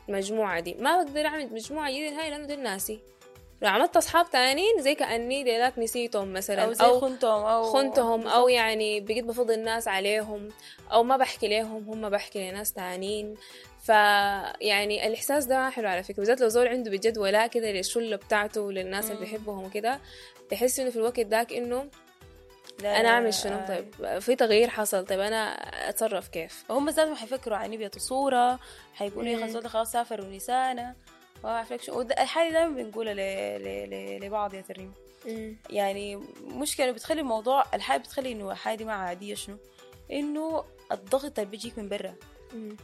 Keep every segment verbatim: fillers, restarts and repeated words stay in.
المجموعة دي. ما بقدر اعمل مجموعة جديدة نهائي لانه دي ناسي. لو عملت اصحاب تانيين زي كاني ديلاك نسيتهم مثلا، او زي او خنتهم او خنتهم، او يعني بقيت بفضل الناس عليهم، او ما بحكي لهم هم بحكي لناس تانيين. ف يعني الاحساس ده ما حلو على فكرة، بالذات لو زول عنده بجد ولاء كده للشله بتاعته وللناس اللي مم. بيحبهم وكده، بحس انه في الوقت داك انه لا انا لا اعمل لا، شنو؟ آه. طيب في تغيير حصل، طيب انا اتصرف كيف؟ هم ذاتهم حيفكروا عني بياتو صورة، حيقولوا يا مم. اخي الزول ده خلاص سافر ونسانا ما اعرف لك شو. وده- الحاجة دايما بنقولها ل... ل... ل... لبعض يا ترنيم، يعني مشكلة بتخلي الموضوع، الحاجة بتخلي انه الحاجة دي ما عادية، شنو انه الضغط اللي بيجيك من برا،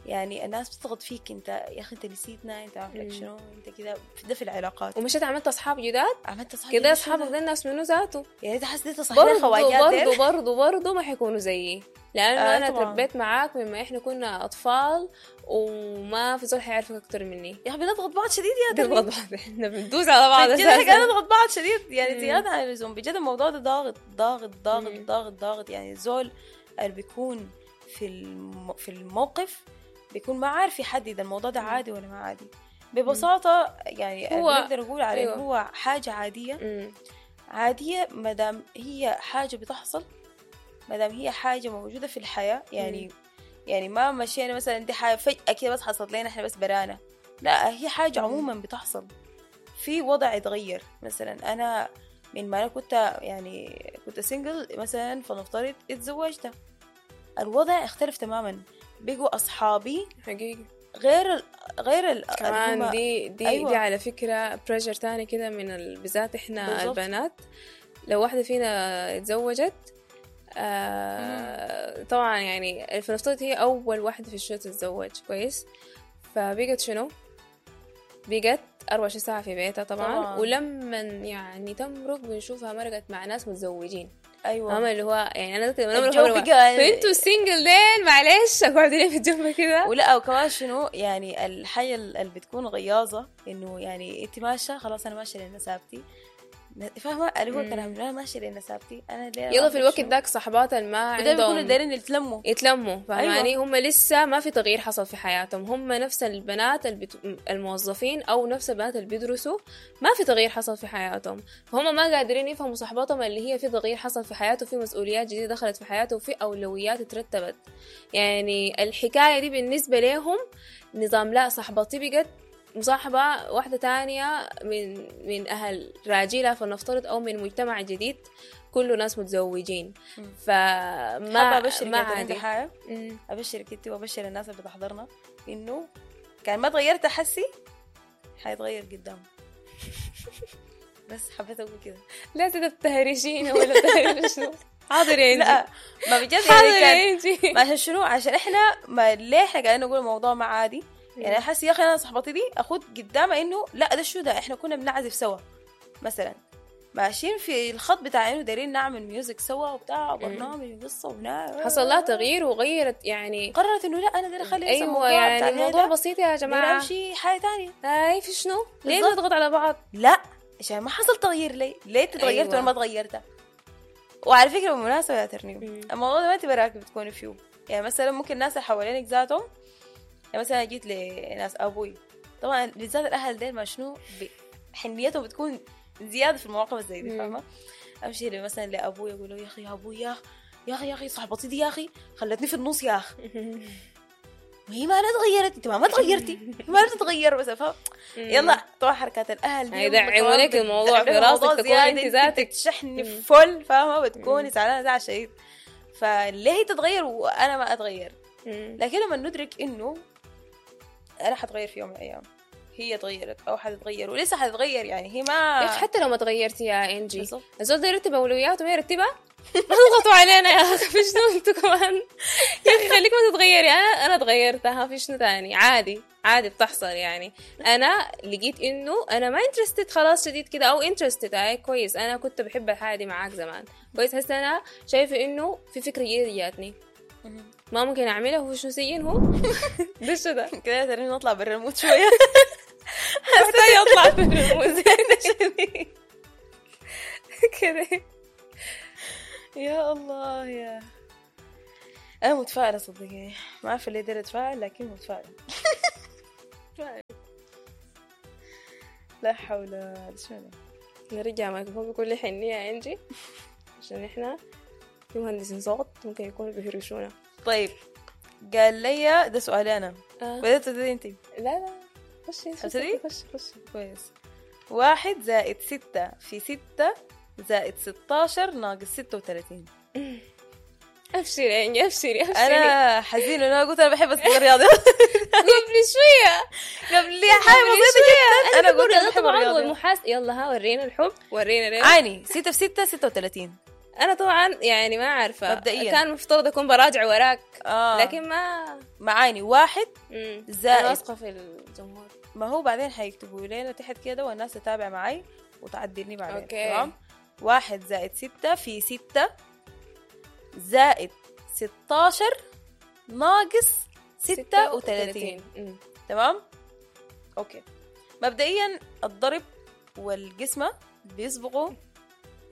يعني الناس بتضغط فيك انت يا اخي انت نسيتنا، انت عارف لك مم. شنو، انت كده. ده في العلاقات. ومشيت عملت اصحاب جداد عملت اصحاب كده، جداد اصحابك ده الناس منو ذاته يعني انت حاسس انت صاحبين برضو الخواجات ديل؟ برضو برضو برضو ما حيكونوا زيي، لانه آه انا طبعاً. تربيت معاك مما احنا كنا اطفال، وما في زول حيعرفك اكتر مني. يا اخي بنضغط بعض شديد يا بنضغط ترنيم. بعض، احنا بندوس على بعض بجد احنا اساسا. قاعدين نضغط بعض شديد يعني مم. زيادة عن اللزوم. بجد الموضوع ده ضاغط ضاغط ضاغط مم. ضاغط ضاغط. يعني الزول اللي بيكون في الم... في الموقف بيكون ما عارف يحدد الموضوع ده مم. عادي ولا ما عادي. ببساطة يعني هو- نقدر نقول عليه أيوة. هو حاجة عادية. مم. عادية ما دام هي حاجة بتحصل، ما دام هي حاجة موجودة في الحياة. يعني يعني ما مشينا مثلا دي حاجة فجأة كده بس حصلت لنا احنا بس برانا، لا هي حاجة مم. عموما بتحصل. في وضع يتغير، مثلا أنا من ما أنا كنت يعني كنت single مثلا، فلنفترض اتزوجت، الوضع اختلف تماما، بقوا أصحابي حقيقي غير ال غير ال كمان اللي هما- دي دي أيوة. دي على فكرة pressure تاني كده من ال... بالذات احنا بالظبط. البنات، لو واحدة فينا اتزوجت آه طبعا يعني فنفترض هي أول واحدة في الشلة تتزوج، كويس، فبقت شنو؟ بقت أربعة وعشرين ساعة في بيتها طبعا, طبعاً. ولما يعني تمرق بنشوفها مرقت مع ناس متزوجين. أيوة هم اللي هو يعني أنا لما نمرق الجو مرقت- بقى فانتوا ال single ديل معلش اقعدوا لي في الجنب كده. ولا وكمان شنو يعني الحاجة اللي بتكون غياظة انه يعني انت ماشية خلاص انا ماشية لنسابتي، فاهمة اللي هو مم. كلام انا ماشية لنسابتي انا ليه يلا في الوقت شنو؟ داك صحباتها اللي ما وده بيكونوا عندهم دايرين يتلموا. يتلموا، فاهماني؟ أيوة. هم لسه ما في تغيير حصل في حياتهم، هم نفس البنات البت... الموظفين او نفس البنات اللي بيدرسوا، ما في تغيير حصل في حياتهم، فهم ما قادرين يفهموا صحباتهم اللي هي في تغيير حصل في حياته، في مسؤوليات جديدة دخلت في حياته، وفي اولويات اترتبت. يعني الحكاية دي بالنسبة لهم نظام، لا صاحبتي بقت مصاحبة واحدة تانية من من أهل راجلها فلنفترض، أو من مجتمع جديد كله ناس متزوجين، مم. فما حابة ابشرك ما يا ترنيم عادي. بحاجة، مم. ابشرك انت وابشر الناس اللي بتحضرنا انه كان ما تغيرت حسي حيتغير قدام. بس حبيت اقول كده. لا تبتهرشين ولا تهرشوا. حاضر يا انجي. لا ما بجد حاضر يعني كان يا انجي. ما عشان شنو؟ عشان احنا ما ليه احنا قاعدين نقول الموضوع ما عادي؟ يعني احس يا اخي انا صاحبتي دي اخد قدامها انه لا ده شو ده، احنا كنا بنعزف سوا مثلا، ماشيين في الخط بتاع انه دايرين نعمل music سوا وبتاع وبرنامج وقصة وهنا، حصل لها تغيير وغيرت يعني، قررت انه لا انا دايرة اخلي ايوه الموضوع يعني بتاع الموضوع الهيدا، بسيط يا دايرة جماعة. امشي حاجة ثانية. هاي في شنو؟ ليه بالضبط. نضغط على بعض؟ لا عشان ما حصل تغيير. ليه؟ ليه انت تغيرت أيوة. وانا ما تغيرت؟ وعلى فكرة بالمناسبة يا ترنيم، مم. الموضوع ده ما انت براك بتكوني فيه، يعني مثلا ممكن الناس اللي حوالينك ذاتهم، يعني مثلا جيت لناس ابوي طبعا بالذات الاهل ديل ما شنو ب- حنيتهم بتكون زيادة في المواقف زي دي، مم. فاهمه؟ امشي مثلا لابوي اقول له يا اخي يا ابوي يا اخي يا اخي يا اخي صاحبتي دي يا اخي خلتني في النص يا اخي، وهي ما انا تغيرت، انت ما ما تغيرتي، ما بتتغير بس فاهم؟ يلا طبعا حركات الاهل دي هيدعموا يلا كمان لك الموضوع في بتدعم راسك، الموضوع تكون زيادة، انت ذاتك. تشحني مم. فل فاهمه، بتكوني زعلانة زعل شديد. فليه هي تتغير وانا ما اتغير؟ مم. لكن لما ندرك انه انا حتغير في يوم من الايام، هي تغيرت او حتتغير ولسه حتتغير، يعني هي ما يا اخي حتى لو ما تغيرتي يا انجي، بالضبط. الزول ده يرتب اولوياته ما يرتبها. ما تضغطوا علينا يا اخي، في شنو انتوا كمان؟ يا اخي خليك ما تتغيري، انا انا تغيرت، ها في شنو تاني؟ عادي عادي بتحصل. يعني انا لقيت انه انا ما interested خلاص شديد كده، او interested هاي كويس، انا كنت بحب الحاجة دي معاك زمان كويس، هسه انا شايفه انه في فكرة جديدة جاتني ما ممكن اعملها، هو شنو سين هو ده شو ده؟ كده ترى نطلع برا ال mood شوية. محتاجة اطلع من ال mood كده. يا الله يا انا متفائلة صدقيني، ما عارفه ليه دايرة اتفائل لكن متفائلة. لا حول. شنو ده؟ نرجع مايكروفون بكل حنية يا انجي، عشان احنا في مهندسين صوت ممكن يكونوا بيهرشونا. طيب قال لي ده سؤالي انا. آه. بدأت تبتدي انت؟ لا لا، خشي أبتدي؟ خشي خشي. كويس. واحد زائد ستة في ستة زائد ستاشر ناقص ستة وثلاثين. ابشري يا انجي، ابشري ابشري. انا حزينة انا قلت انا بحب الرياضيات قبل شوية قبل حاجة بسيطة جدا انا انا قلت قلت بحب طبعا الرياضيات. والمحاسب. يلا ها، ورينا الحب، ورينا ليه. عاني ستة في ستة ستة وثلاثين. انا طبعا يعني ما عارفة، مبدئياً. كان مفترض اكون براجع وراك، آه. لكن ما معاني واحد مم. زائد. انا واثقة في الجمهور. ما هو بعدين حيكتبوا لنا تحت كده والناس تتابع معي وتعدلني بعدين. okay. تمام. واحد زائد ستة في ستة زائد ستاشر ناقص ستة وثلاثين. مم. تمام okay. مبدئيا الضرب والقسمة بيسبقوا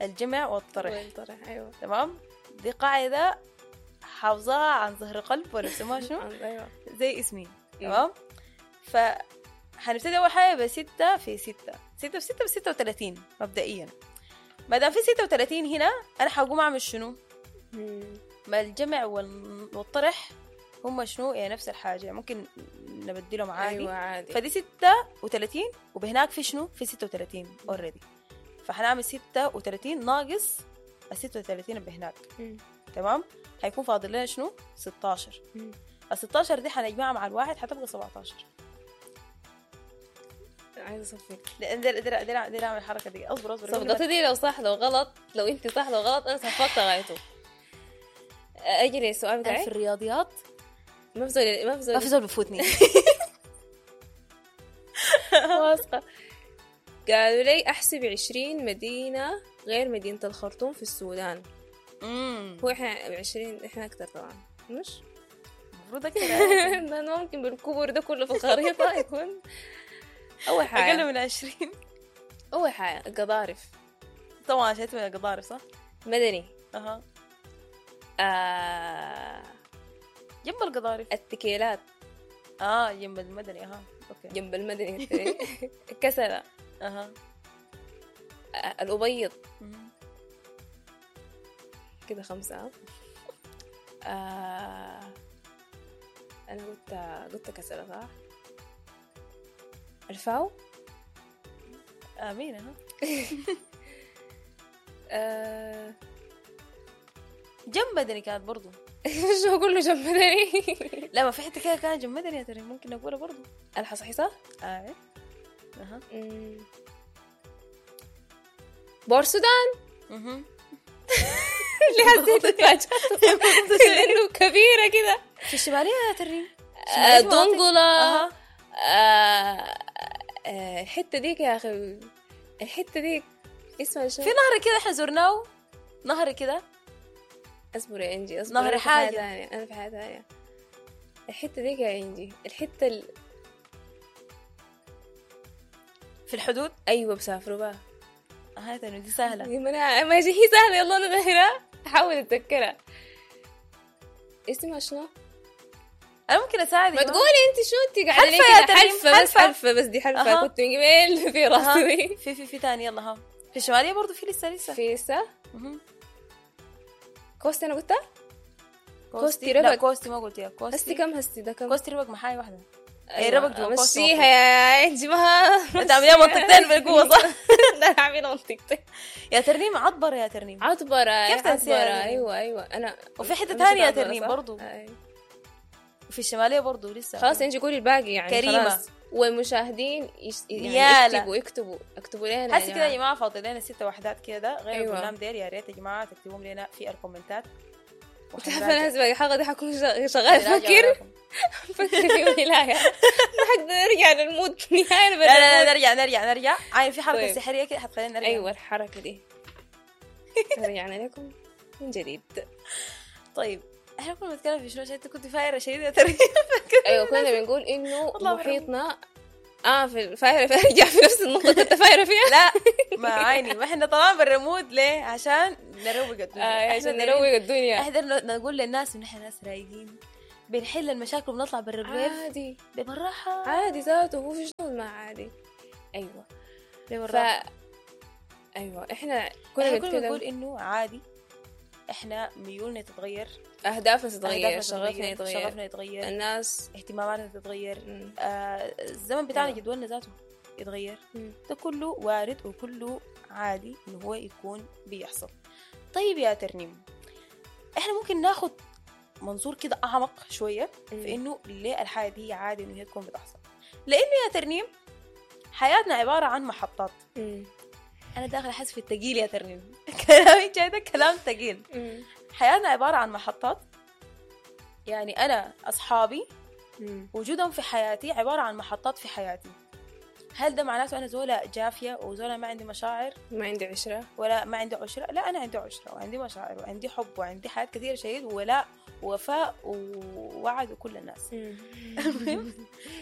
الجمع والطرح. والطرح، ايوه. تمام، دي قاعدة حافظاها عن ظهر قلب ولا بسموها شنو؟ ايوه زي اسمي. تمام. ف حنبتدي اول حاجة بستة في ستة، ستة في ستة بستة وثلاثين مبدئيا. ما دام في ستة وثلاثين هنا انا حقوم اعمل شنو؟ مم. ما الجمع وال- والطرح هما شنو؟ يعني نفس الحاجة، يعني ممكن نبدلهم عادي. ايوه عادي. فدي ستة وثلاثين وبهناك في شنو؟ في ستة وثلاثين already. فحنعمل ستة وثلاثين ناقص ال ستة وثلاثين اللي بهناك. مم. تمام، حيكون فاضل لنا شنو؟ ستاشر. مم. ال ستاشر دي حنجمعها مع الواحد حتبقى سبعتاشر. عايزه اصفق. لا، دير دير دير دير اعمل الحركة دي. اصبر اصبر. صفقتي دي لو صح لو غلط، لو انت صح لو غلط انا صفقت غايته. اجري السؤال انا في بتاعي. الرياضيات ما في زول، ما في زول ما في زول بفوتني. واثقة. قالوا لي احسب عشرين مدينة غير مدينة الخرطوم في السودان. امم هو احنا عشرين، احنا اكتر طبعا، مش؟ المفروض اكتر، لأنه ممكن بالكبر ده كله في الخريطة يكون أول حاجة اقل من عشرين. أول حاجة القضارف. طبعا شايف من القضارف صح؟ مدني. اها. آه... جنب القضارف. التكيلات. اه جنب المدني. اها okay. جنب المدني. كسلة. اها. آه، الأبيض. مم. كده خمسة. آه... أنا قلت قلت كسلة صح؟ الفاو. امين. اها. آه... جنب مدني كانت برضو. شو كله جنب مدني؟ لا ما في حتة كده كانت جنب مدني يا ترى، ممكن نقولها برضو. الحصحيصة. اه اها. مم. بور سودان. اها. اللي حسيت اتفاجأت لأنه كبيرة كده. في الشمالية يا ترى. آه، دنقلة. اها. آه، آه، الحتة ديك يا أخي، الحتة ديك اسمها شنو؟ في نهر كده احنا زرناه، نهر كده. اصبر يا انجي، اصبر. نهر أنا في حاجة حاجة. تانية، أنا في حاجة تانية. الحتة ديك يا انجي، الحتة ال... في الحدود. أيوة بسافروا بقى. اها ترى دي سهلة. ما أنا ما هي سهلة، يلا أنا دايرة أحاول أتذكرها. اسمها شنو؟ انا ممكن اساعدك. ما تقولي انت شو انت قاعدة ليه حلفة يا كده؟ تريم، حلفه بس، حلفة. حلفه بس، دي حلفه. أها. كنت من قبل في راسي أها. دي. في في في تاني. يلا ها. في الشمالية برضو في لسه لسه. في لسه مهم. كوستي انا قلتها؟ كوستي لا ربك. كوستي ما قلتيها. كوستي هستي كم؟ هستي ده كم؟ كوستي ربك محاية واحدة. أيوة. ربك جوا كوستي مشيها يا انجي ما انت عامليها منطقتين بالقوة صح؟ لا انا عاملة منطقتين. يا ترنيم عطبرة يا ترنيم. عطبرة. كيف تنسيها عطبرة يا ترنيم؟ ايوه ايوه انا. وفي حتة مشيت تانية يا عطبرة، ترنيم صح؟ برضو. أيوة. وفي الشمالية برضو لسه. خلاص انجي قولي الباقي يعني. كريمة. خلاص. والمشاهدين يش... يعني نيالة. يكتبوا يكتبوا اكتبوا لنا يا حاسه كده يا جماعة. جماعة فاضل لنا ست وحدات كده غير أيوة. البرنامج ديل، يا ريت يا جماعة تكتبوهم لنا في الكومنتات. تعرف انا هسه باقي الحلقة دي حكون شغ- شغال افكر افكر في ولاية. ما حقدر ارجع لل mood نهائي. لا لا لا نرجع نرجع نرجع. عاين في حركة طيب. سحريه كده حتخلينا نرجع. ايوه الحركة دي. رجعنا لكم من جديد. طيب احنا كنا بنتكلم في شنو؟ عشان انت كنت فايره شديدة ترى. ايوه كنا بنقول انه والله محيطنا اه في الفايره ارجع في نفس النقطة كنت فايره فيها. لا ما عيني، ما احنا طبعا بال mood ليه؟ عشان نروق الدنيا. آه إحنا عشان دايرين- نروق الدنيا. احنا دايرين نقول للناس ان احنا ناس رايقين، بنحل المشاكل وبنطلع برا البيت عادي ببراحه. عادي ذاته، هو في شنو ما عادي؟ ايوه ف ببراحه. ايوه احنا كنا احنا كنا بنتكلم بنقول انه عادي، احنا ميولنا تتغير، اهدافنا تتغير، أهدافنا شغفنا يتغير، شغفنا يتغير، الناس اهتماماتنا تتغير، مم. آه الزمن بتاعنا أيوة. جدولنا ذاته يتغير. مم. ده كله وارد وكله عادي انه هو يكون بيحصل. طيب يا ترنيم، احنا ممكن ناخد منظور كده اعمق شوية في انه ليه الحاجة دي عادي انه هي تكون بتحصل. لانه يا ترنيم حياتنا عبارة عن محطات. مم. انا داخله احس في التقيل يا ترنيم كلامي جاي ده كلام ثقيل. مم. حياتنا عبارة عن محطات، يعني انا اصحابي مم. وجودهم في حياتي عبارة عن محطات في حياتي. هل ده معناته أنا زولة جافية وزولة ما عندي مشاعر ما عندي عشرة؟ ولا ما عندي عشرة؟ لا، أنا عندي عشرة وعندي مشاعر وعندي حب وعندي حياة كثيرة شديد، وولاء ووفاء ووعد وكل الناس. المهم،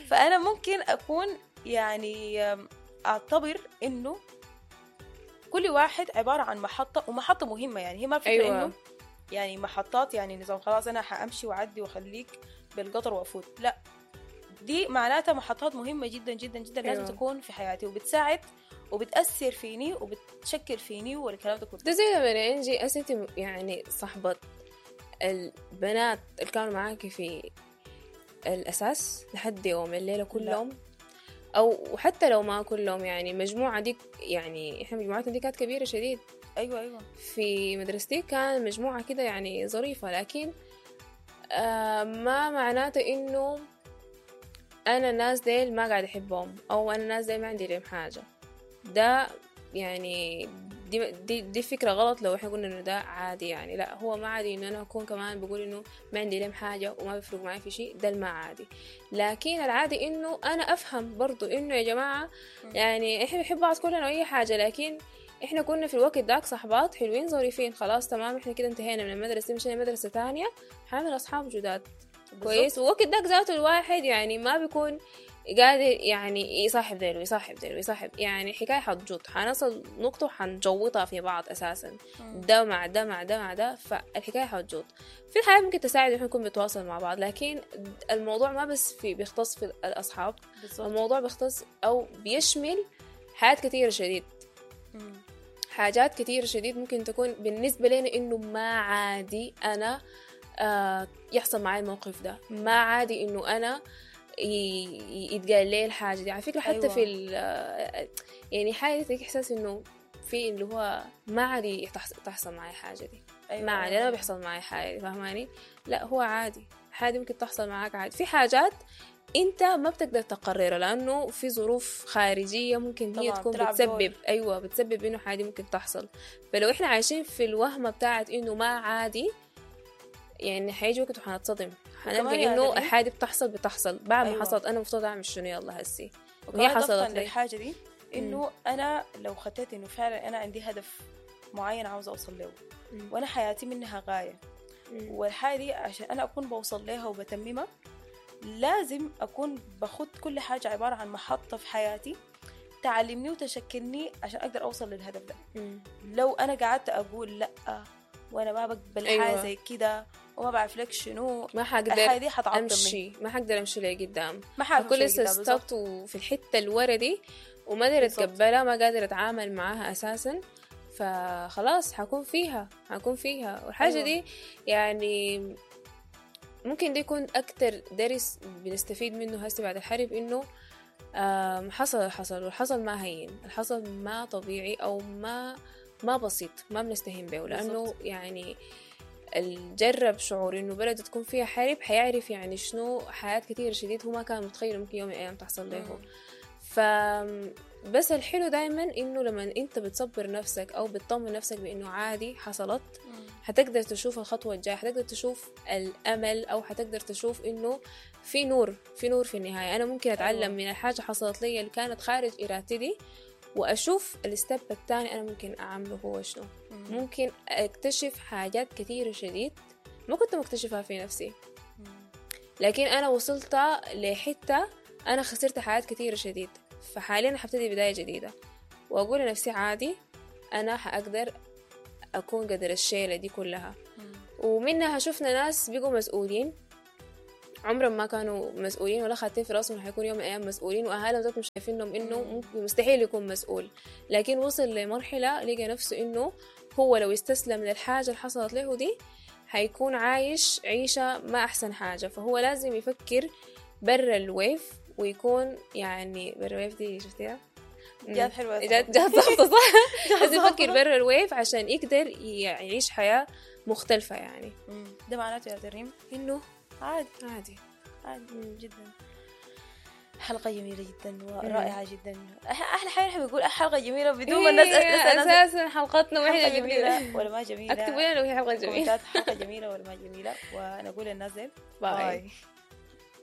فأنا ممكن أكون يعني أعتبر إنه كل واحد عبارة عن محطة، ومحطة مهمة. يعني هي ما فكرة أيوة. إنه يعني محطات يعني نظام خلاص أنا حأمشي وأعدي وأخليك بالقطر وأفوت، لا، دي معناتها محطات مهمة جدا جدا جدا لازم أيوة. تكون في حياتي، وبتساعد وبتأثر فيني وبتشكل فيني والكلام ده كله. ده زي لما انجي أس انت يعني صاحبة البنات اللي كانوا معاكي في الأساس لحد يوم الليلة كلهم، أو وحتى لو ما كلهم، يعني مجموعة دي، يعني إحنا مجموعتنا دي كانت كبيرة شديد. أيوة أيوة. في مدرستي كان مجموعة كده يعني ظريفة، لكن آه ما معناته إنه أنا الناس ديل ما قاعد أحبهم، أو أنا الناس ديل ما عندي لهم حاجة. ده يعني دي, دي, دي فكرة غلط لو إحنا قلنا إنه ده عادي. يعني لا، هو ما عادي إنه أنا أكون كمان بقول إنه ما عندي لهم حاجة وما بيفرق معي في شيء، ده ما عادي. لكن العادي إنه أنا أفهم برضو إنه يا جماعة يعني إحنا بنحب بعض كلنا وأي حاجة، لكن إحنا كنا في الوقت داك صحبات حلوين ظريفين، خلاص تمام إحنا كده انتهينا من المدرسة، مشينا مدرسة تانية، حامل أصحاب جداد كويس. ووقت داك ذاته الواحد يعني ما بيكون قادر يعني يصاحب ديل ويصاحب ديل ويصاحب، يعني حكاية حتجوط، حنصل نقطة وحنجوطها في بعض أساسا، ده مع ده مع ده مع ده، فالحكاية حتجوط. في الحياة ممكن تساعد إحنا نكون بنتواصل مع بعض، لكن الموضوع ما بس في بيختص في الأصحاب. بالضبط. الموضوع بيختص أو بيشمل حاجات كثيرة شديد. مم. حاجات كثيرة شديد ممكن تكون بالنسبة لنا إنه ما عادي أنا آه يحصل معي الموقف ده، ما عادي إنه أنا يتقال لي الحاجة دي. على فكرة حتى أيوة. في يعني حاجة تديك إحساس إنه في اللي هو ما عادي تحصل معي حاجة دي. أيوة. ما عادي، أنا ما بيحصل معي حاجة دي، فاهماني؟ لا هو عادي، حاجة ممكن تحصل معاك عادي. في حاجات أنت ما بتقدر تقررها لأنه في ظروف خارجية ممكن هي تكون بتسبب دور. أيوة بتسبب إنه حاجة ممكن تحصل. فلو إحنا عايشين في الوهمة بتاعت إنه ما عادي، يعني حيجي وقت وحنتصدم، حنلقى إنه الحاجة بتحصل بتحصل بعد ما أيوة. حصلت أنا مفترض أعمل شنو يلا هسي، وهي حصلت لي الحاجة دي. إنه أنا لو خطيت إنه فعلا أنا عندي هدف معين عاوزة أوصل له، وأنا حياتي منها غاية، مم. والحاجة دي عشان أنا أكون بوصل لها وبتممها لازم أكون باخد كل حاجة عبارة عن محطة في حياتي تعلمني وتشكلني عشان أقدر أوصل للهدف ده. مم. لو أنا قعدت أقول لأ وأنا ما بقبل أيوة. حاجة زي كده وما بعرف لك شنو، ما حقدر الحاجة دي حتعطلني أمشي، ما حقدر أمشي لقدام، ما حقدر كل لسه stuck وفي الحتة الورا دي وما قادرة أتقبلها، ما قادرة أتعامل معاها أساسا، فخلاص حكون فيها حكون فيها. والحاجة أيوة. دي يعني ممكن ده يكون أكتر درس بنستفيد منه هسه بعد الحرب، إنه حصل حصل والحصل ما هين، الحصل ما طبيعي أو ما ما بسيط، ما بنستهين به، لأنه يعني الجرب شعور إنه بلده تكون فيها حرب حيعرف يعني شنو حياة كتير شديد هو ما كان متخيل ممكن يوم من الأيام تحصل له. فبس الحلو دايما إنه لما أنت بتصبر نفسك أو بتطمن نفسك بإنه عادي حصلت، حتقدر تشوف الخطوة الجاية، حتقدر تشوف الأمل، أو حتقدر تشوف إنه في نور، في نور في النهاية. أنا ممكن أتعلم أيوة. من الحاجة حصلت لي اللي كانت خارج إرادتي دي، وأشوف ال step الثاني أنا ممكن أعمله هو شنو. مم. ممكن أكتشف حاجات كثيرة شديد ما كنت مكتشفها في نفسي، مم. لكن أنا وصلت لحتة أنا خسرت حاجات كثيرة شديد، فحاليا حبتدي بداية جديدة وأقول لنفسي عادي أنا حأقدر أكون قدر الشيلة دي كلها. مم. ومنها شفنا ناس بيقوا مسؤولين عمرهم ما كانوا مسؤولين ولا خاتين في راسهم حيكون يوم من الايام مسؤولين، واهالهم ذاتهم شايفينهم انه ممكن مستحيل يكون مسؤول، لكن وصل لمرحلة لقى نفسه انه هو لو استسلم للحاجة اللي حصلت له دي حيكون عايش عيشه ما احسن حاجة، فهو لازم يفكر برا ال wave ويكون يعني برا ال wave دي شفتيها؟ جات حلوة يا جات جات ظابطة صح؟ لازم يفكر برا ال wave عشان يقدر يعيش حياة مختلفة يعني. مم. ده معناته يا ترنيم انه عادي عادي عادي جدا. حلقة جميلة جدا ورائعة جدا. أح- أحلى حاجة نحن بنقول حلقة جميلة بدون ما الناس إيه، نسأل ناس اساسا حلقتنا حلقة واحنا جميلة ولا ما جميلة. اكتبوا لنا لو هي حلقة جميلة. كومنتات حلقة جميلة ولا ما جميلة، ونقول للناس ديل باي. باي.